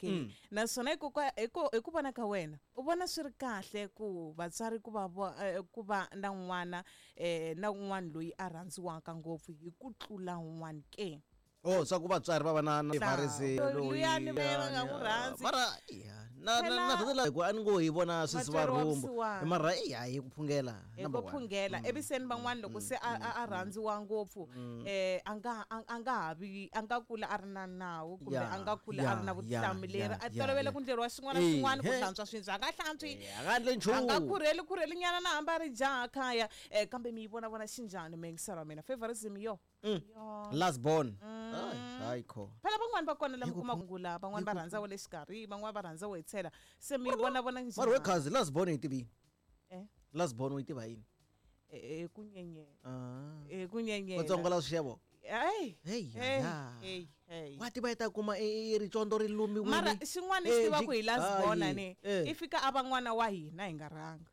ke. Naswona hi ku vona ka wena, u vona swi ri kahle ku vatswari ku va ku va na n'wana na un'wana loyi a rhandziwaka ngopfu hi ku tlula un'wana ke? Oh, swa ku vatswari va va na varisi. Luyani va nga n'wi rhandzi. Mara ya na na na na hi ku a ni ngo hi vona swisi va Vatswari wa rhumbu. vusiwana. Mara ya hi ku phungela Hi ku number one. phungela ivi se ni van'wana loko se a rhandziwa ngopfu, a nga a nga ha vi, a nga kula a ri na nawu kumbe a nga kula a ri na vutihlamuleri, a tolovele ku ndleriwa xin'wana na xin'wana, ku hlantswa swibye a nga hlantswi, A nga endli a nga nchumu. khurheli khurheli nyana na hambi a ri jaha khaya. Kambe mi yi vona vona xinjhani meyingiselo wa mina favorism yo? Yo. Last born. Hayi, hayi kho. Phela van'wani va kona lama Hi ku kuma ngula, van'wani va rhandza wa le xikarhi, van'wani va rhandza wo hetshela. Se mi yi vona vona Mara we njhani? khazi, last born yi tivi yini? Eh? Last born u yi tiva yini? Ku nyenyela. Ah. Ku nyenyela. Vatsongo la swixevo. Hey. Hey, Hey, ya. hey, hey. Wa tiva yi ta kuma i ricondo ri lumiwile. Mara xin'wana xi tivaka hi last born ni Eh. i fika a va n'wana wa hina hi nga rhanga.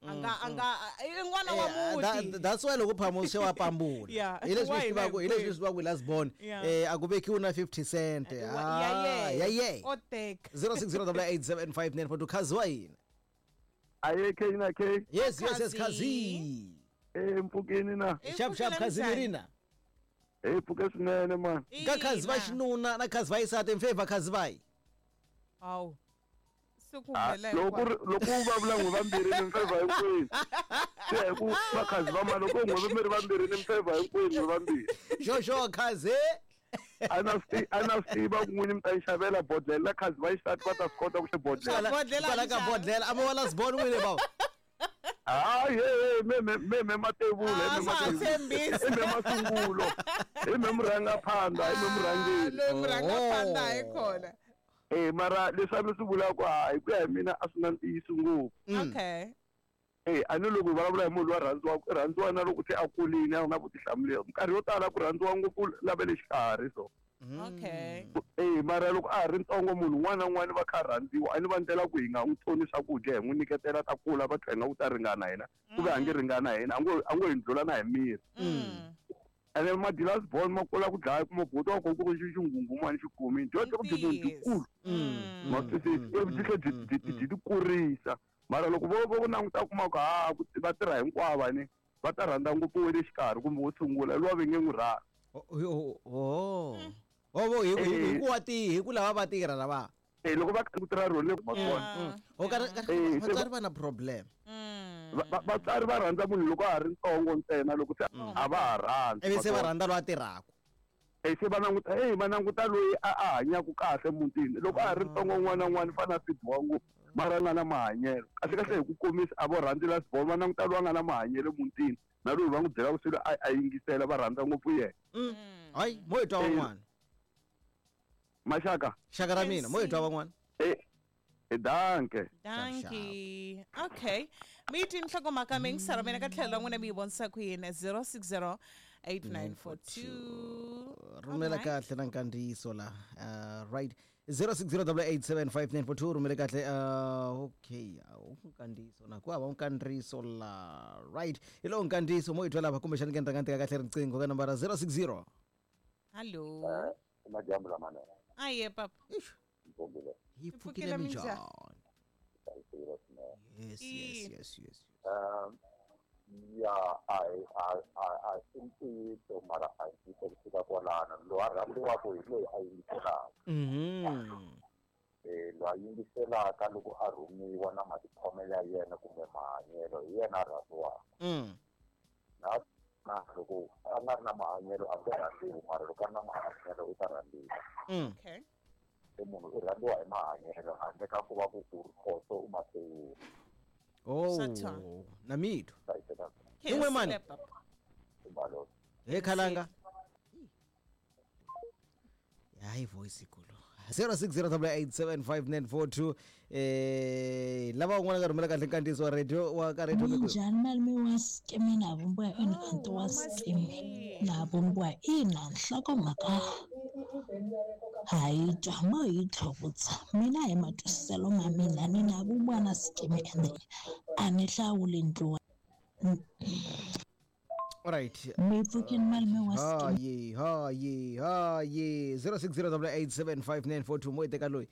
A nga i n'wana wa muti. That's why loko phamo se wa pambula. Yeah, Hi leswi wa swi hina tivaka, hi leswi hinkwenu. swi tivaka hi last born. Yeah. A ku vekiwi na 50 cent. Ya Ah, ye. ya ye. O teka. 0608875942, khazi wa hina. Aye, K na K. Yes, Khazi. khazi. Mpfukeni na. I Sharp sharp pfukile khazi minjhani? mirina. Pfuke swinene man. Ka khazi va Ina. xinuna na khazi va xisati, mfavor khazi vayi. Hawu. Se ku Ah, humelela loko ku ri- loko u vulavula n'we vambirhi ni mfavor hinkwenu. Swi ya hi ku vakhazi va mani, loko n'we mi ri vambirhi ni mfavor hinkwenu n'we vambirhi. Xoxo khazi. A na swi tiva ku n'wini mi ta yi xavela bodlhela na khazi va xisati va ta swi kota ku xe bodlhela. Bodlhela Kwala ka njhani? bodlhela a mo wa last born n'wini bawo. Hayi, he me me me me matevula, Ah, me swa ha matevula. tshembisi. I me masungulo. I me murhangaphandha, i me murhangeri. Loyi murhangaphandha Oh. hi kona. Mara leswi a mi swi vulaka, ha hi ku ya hi mina a swi na ntiyiso ngopfu. Okay. A ni loko hi vulavula hi munhu loyi a rhandziwaka, i rhandziwa na loko se a kurile, a ri na vutihlamuleri. Minkarhi yo tala ku rhandziwa ngopfu lava le xikarhi so. Okay. Mara loko a ha ri ntsongo, munhu un'wana na un'wana va kha a rhandziwa, a ni va ndlela ku hi nga n'wi tsoni swakudya, hi n'wi nyiketela ta kula, va tlhela nga ku ta ringana hina, ku ve a nge ringana hina, a ngo hi ndlula na hi miri. Ene ma-last born ma kula ku dlaya, kuma buti wa kona ku ri xinghunghumani xi kumile dyondzo ku byi munhu byikulu, ma swi twisisa, ivi byi tlhe byi ti kurisa. Mara loko vo languta, kuma ku ha ku va tirha hinkwavo, ni va ta rhandza ngopfu we le xikarhi kumbe wo sungula luwa va nge n'wi rhandzi. Oh. Oh, vo hi ku wa ti hi ku lava va tirha lava. Loko va ku tirha rona ma kona. O ka Eh, se vatswari va na problem. Vatswari va rhandza munhu loko a ha ri ntsongo ntsena, loko se a va ha rhandzi. Ivi se va rhandza loyi a tirhaka. Se va languta, va languta loyi a hanyaka kahle mutini loko a ha ri ntsongo. Un'wana na un'wana fana a fidiwa ngopfu, mara a nga na mahanyelo kahle kahle. Hi ku komisa, a vo rhandzi last born, va languta loyi a nga na mahanyelo mutini na loyi va n'wi byelaka swilo a yingisela, va rhandza ngopfu yena. Hayi, mo hi twa van'wana. Maxaka. Xaka ra mina, mo hi twa van'wana. Danke. Dankie. Okay. Mi yi twini nhlokomhaka, mi yingisela mina ka tlhelo ra n'wina mi yi vonisa ku yini? 060 8942. Rhumela kahle na nkandziyiso la. Right, 0608875942, rhumele kahle. Okay, nkandziyiso na ku hava nkandziyiso la. Right, hi lowu nkandziyiso, mo hi twa lava kumbexani ke ni rhanga ni teka kahle riqingho ka nambara 060. Hallo. Madyambu lamanene. Aye papa. Ixi, Mpfukile. hi pfukile pfukile. minjhani? Minjhani? Hlayisekile swinene. Yes yes yes yes Ya, a i ntiyiso, mara a hi ntiyiso ku fika kwalano. Loyi a rhandziwaka hi loyi a yingiselaka. Loyi a yingiselaka loko a rhumiwa na matikhomelo ya yena kumbe mahanyelo, hi yena a rhandziwaka. Na loko a nga ri na mahanyelo a nge rhandziwi, mara loko a ri na mahanyelo u ta rhandziwa. Okay. Se munhu u rhandziwa hi mahanyelo handle ka ku va ku u ri khoso u maseyini. Oh, Swa na mitwa. Hlayiseka. Yin'we mani? Papa. Timbalolo. He khalanga. Hayi, voice ikulu. 0608875942, lava un'wana ka rhumela kahle nkandziyiso wa radio wa ka radio. Minjhani malume wa Skimi na vumbiwa? Ina, anti wa Skimi na vumbiwa, ina. Nhlokomhaka ha yi twa, mo yi tlhuvutsa. Mina hi matwisiselo ma mina, ni na vumbiwa na Skimi, ende a ni hlawuli ndluwa. Alright. Mi pfukini malume wa Skimi. Hayi, hayi, hayi, 0608875942, mo yi teka loyi.